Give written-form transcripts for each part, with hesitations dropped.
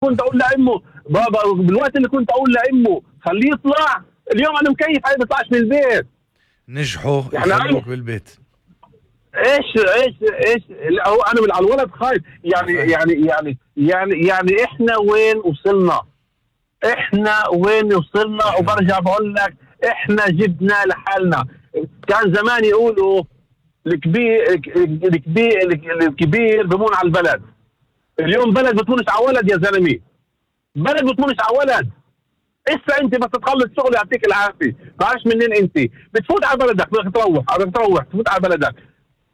كنت اقول لامه بابا، بالوقت اللي كنت اقول لامه خليه يطلع، اليوم انا مكيف هاي بيطلعش من البيت. نجحوا يعني يخلوك بالبيت. ايش لا، هو انا من على الولد خايف. يعني احنا وين وصلنا؟ وبرجع بقول لك احنا جبنا لحالنا. كان زمان يقولوا الكبير بمون على البلد. اليوم بلد بتمونش على ولد يا زلمه، بلد بتمونش على ولد. اسا انت بس تخلص شغل يعطيك العافيه، معلش منين انت بتفوت على بلدك، بدك تروح تفوت على بلدك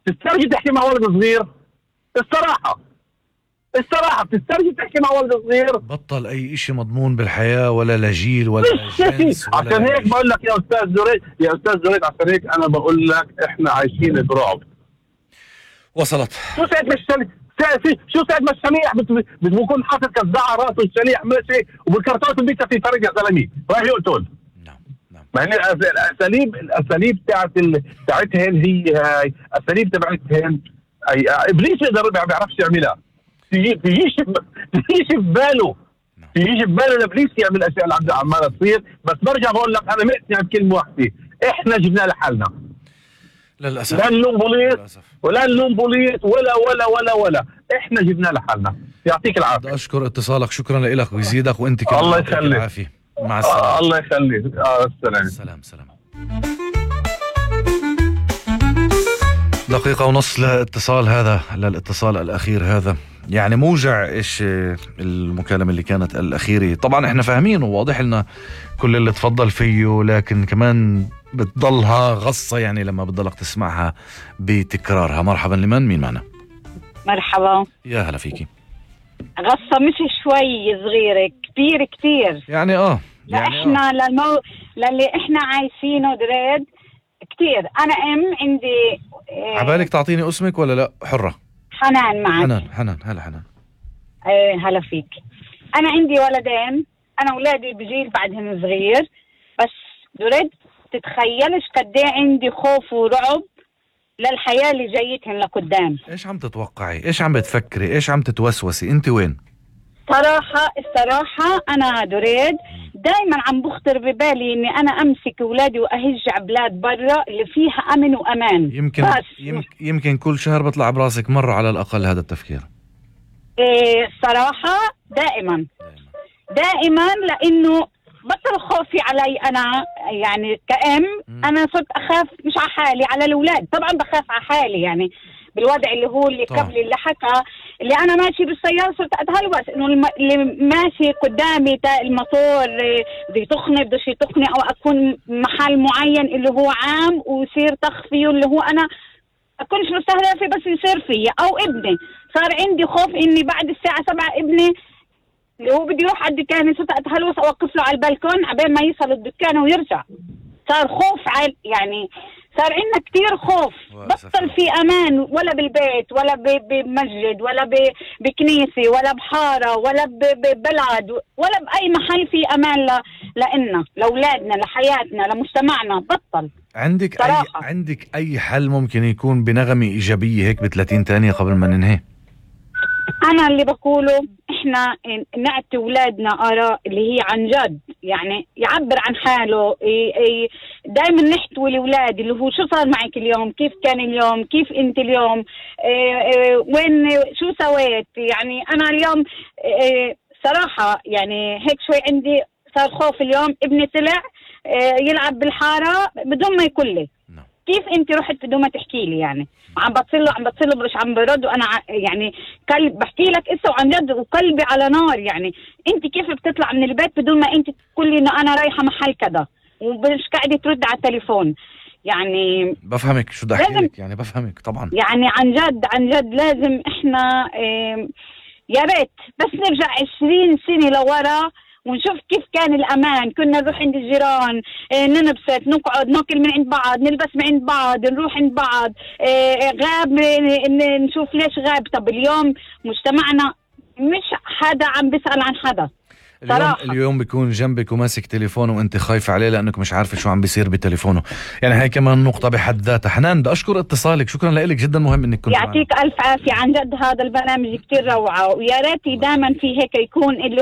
تسترجي تحكي مع ولد صغير. الصراحه بتسترجي تحكي مع ولد صغير. بطل اي اشي مضمون بالحياه، ولا لجيل ولا جنس. عشان هيك بقول لك يا استاذ زريد، عشان هيك انا بقول لك احنا عايشين برعب. وصلت. شو ساعة ما الشليح بيكون حاطط كزاعة راسه الشليح ماشي وبالكرتون بيك في فرق يا زلمه راح يقتل. نعم. ما هي الاساليب تاعتهن هي هاي اساليب تبعتهن. ابليس يقدر ما بيعرفش يعملها. تجيش بباله لابليس يعمل الاشياء اللي عماله تصير. بس برجع بقول لك انا مقتنع بكلمه واحده، احنا جبنا لحالنا للاسف. لا نلوم بوليس ولا احنا جبنا لحالنا. يعطيك العافيه. بدي اشكر اتصالك، شكرا لك ويزيدك، وانت كمان الله يخليك. العافيه. مع السلامه. الله يخليك. سلام. دقيقة ونص للاتصال الأخير هذا. يعني موجع إيش المكالمة اللي كانت الأخيرة. طبعا إحنا فاهمين وواضح لنا كل اللي تفضل فيه، لكن كمان بتضلها غصة يعني لما بتضلك تسمعها بتكرارها. مرحبا، لمن؟ مين معنا؟ مرحبا، يا هلا فيكي. غصة مش شوي صغيرة، كتير يعني احنا للي احنا عايشينه دريد كتير. انا عندي عبالك تعطيني اسمك ولا لا؟ حرة. حنان معك. حنان هلا حنان. هلا فيك. انا عندي ولدين، انا اولادي بجيل بعدهم صغير، بس دريد تتخيلش قد ايه عندي خوف ورعب للحياة اللي جايتهم لقدام. ايش عم تتوقعي؟ ايش عم بتفكري؟ ايش عم تتوسوسي؟ انت وين؟ الصراحة أنا دريد دايما عم بخطر ببالي إني أنا أمسك أولادي وأهج بلاد برا اللي فيها أمن وأمان. يمكن كل شهر بطلع براسك مرة على الأقل هذا التفكير. الصراحة دائما لأنه بطل خوفي علي أنا، يعني كأم أنا صرت أخاف مش على حالي، على الأولاد. طبعا بخاف على حالي يعني بالوضع اللي هو اللي قبل اللي حكى، اللي انا ماشي بالسياره صرت اتهلوس انه اللي ماشي قدامي الموتور بده يطخني او اكون محل معين اللي هو عام ويصير طخ فيه اللي هو انا اكونش مستهدفه بس يصير فيا او ابني. صار عندي خوف اني بعد الساعه 7 ابني اللي هو بده يروح على الدكان صرت اتهلوس اوقف له على البلكون عبين ما يصل الدكان ويرجع. صار خوف يعني صار عندنا كتير خوف. بطل في امان ولا بالبيت ولا بمسجد ولا بكنيسه ولا بحاره ولا ببلد ولا باي محل في امان لنا لاولادنا لحياتنا لمجتمعنا. بطل. عندك اي حل ممكن يكون بنغمه ايجابيه هيك ب30 ثانيه قبل ما ننهي؟ أنا اللي بقوله إحنا نعطي أولادنا آراء اللي هي عن جد، يعني يعبر عن حاله. دائما نحتوي الأولاد اللي هو شو صار معك اليوم، كيف كان اليوم، كيف أنت اليوم، وين شو سويت. يعني أنا اليوم صراحة يعني هيك شوي عندي صار خوف. اليوم ابني طلع يلعب بالحارة بدون ما يقول لي كيف انت رحت بدون ما تحكي لي. يعني عم بتصله مش عم برد، وانا يعني قلب بحكي لك اسا وعن جد وقلبي على نار. يعني انت كيف بتطلع من البيت بدون ما انت تقول لي انه انا رايحه محل كذا ومش قاعده ترد على التليفون. يعني بفهمك شو بدي احكي لك، يعني بفهمك طبعا. يعني عن جد لازم احنا يا ريت بس نرجع 20 سنه لورا ونشوف كيف كان الأمان. كنا نروح عند الجيران، ننبسط، نقعد، ناكل من عند بعض، نلبس من عند بعض، نروح عند بعض. غاب نشوف ليش غاب. طب اليوم مجتمعنا مش حدا عم بيسأل عن حدا. اليوم بيكون جنبك وماسك تليفونه وانت خايفة عليه لانك مش عارفة شو عم بيصير بتليفونه. يعني هاي كمان نقطة بحد ذاتها. حنان بدي اشكر اتصالك، شكرا لك، جدا مهم انك كنت يعطيك الف عافية. عن جد هذا البرنامج كتير روعة، ويا ريت دائما في هيك يكون اللي